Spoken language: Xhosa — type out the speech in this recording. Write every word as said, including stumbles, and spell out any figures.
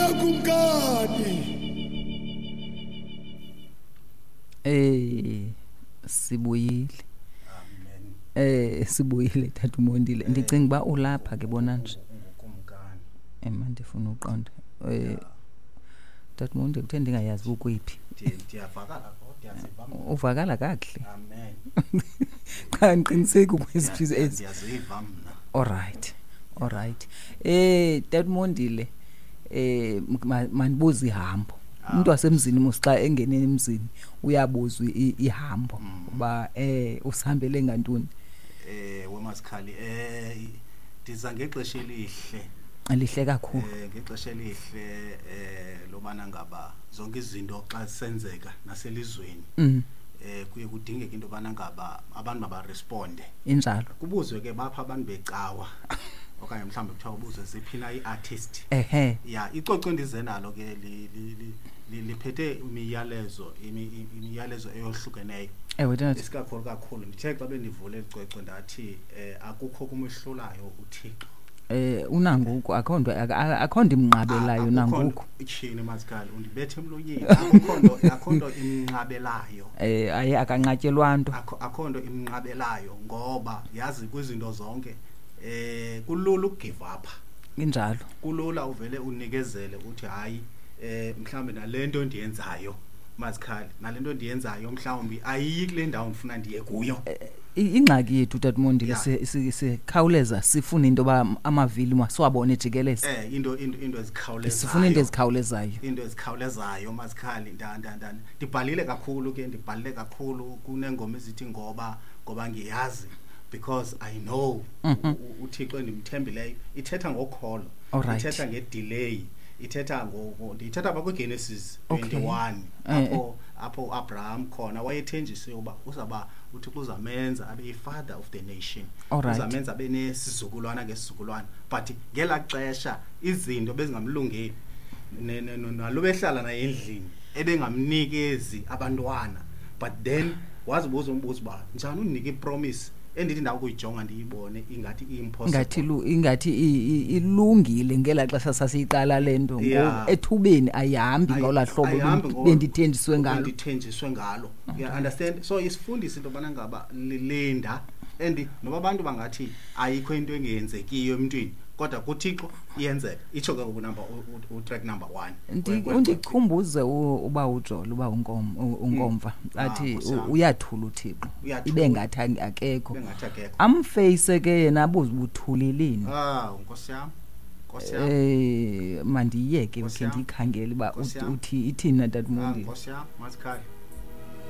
Wena kumkani. Eh sibuyile. Amen. Eh sibuyile Tata uMondile. Ndicinga uba ulapha ke bona nje. Ungukumkani. Eh mandifuna uqonda. Eh Tata uMondile kuthe ndingayazi ukwiphi. Ndiyavakala kodwa ndiyaziva mna. Uvakala kakuhle. Amen. Cha ngiqiniseki kweziphi ezi. Ndiyaziva mna. Alright. Alright. Eh Tata uMondile eh mandibuze ihambo. Umuntu wasemzini mos xa engene emzini uyabuzwa ihambo uba eh usihambele ngantoni. Eh wemasikhali eh ndiza ngexesha elihle. Elihle kakhulu. Eh ngexesha elihle eh lobana ngaba zonke izinto xa senzeka naselizweni. Mm. Eh kuye kudingeke into bana ngaba abantu mabaresponde. Injalo. Kubuzwe ke bapha abantu becawa. Okanye mhlawumbe kuthiwa ubuzwe ziphina iartist. Ehhe. Ya icoco ndize nalo ke li li liphethe imiyalezo imiyalezo eyohlukeneyo. Ewe tata. Isikakhulu kakhulu ndithe xa bendivule licwecwe ndathi eh akukho kumehlulayo uThixo. Eh unanguku akho nto akho nto imnqabelayo nanguku. Ichini mazikhali undibethe emlonyeni akukho nto akho nto imnqabelayo. Eh aye akanqatyelwa nto. Akho akho nto imnqabelayo ngoba yazi kwizinto zonke eh kulula ukugive up. Injalo. Kulula uvele unikezele uthi hayi eh mhlambe nalento ndiyenzayo mazikhali nalento ndiyenzayo mhlawumbi ayiyi kule ndawo ndifuna ndiye kuyo. Ingxaki yethu Tata Mondile sikhawuleza sifuna into ba amavili masiwabone ejikeleza. Eh into into into ezikhawulezayo. Sifuna into ezikhawulezayo. Into ezikhawulezayo mazikhali nda nda ndibhalile kakhulu ke ndibhalile kakhulu kunengoma ezithi ngoba ngoba ngiyazi because I know uThixo endimthembileyo ithetha ngokholo ithetha ngedelay ithetha ngo ndithetha apha kwiGenesis twenty-one apho apho Abraham khona wayethenjisiwe uba uzaba uThixo uzamenza abe yi-father of the nation, uzamenza abe nesizukulwana ngesizukulwana, but ngela xesha izinto bezingamlungeli nalo behlala naye endlini ebengamnikezi abantwana, but then wazibuza umbuzo uba njani undinika ipromise endithi ndakuyijonga ndiyibone ingathi impossible, ingathi ingathi ilungile ngela xesha sasiyiqala lento ngoku ethubeni ayihambi ngola hlobo bendithenjiswe ngalo bendithenjiswe ngalo. You understand? So isifundise into bana ngaba linda and noba abantu bangathi ayikho into engenzekiyo emntwini kodwa kuThixo iyenzeka. Itsho ke ngoku number u track number one. Undikhumbuze uba uJolo uba unkom unkomfa athi uyathula uThixo ibe ngathi akekho. Amface ke yena abuze ubuthuleleni. Ah Nkosi yami. Nkosi yami. Eh mandiyeke ke ndikhangele uba uthi ithini Tata Mondile. Nkosi yami mazikhali.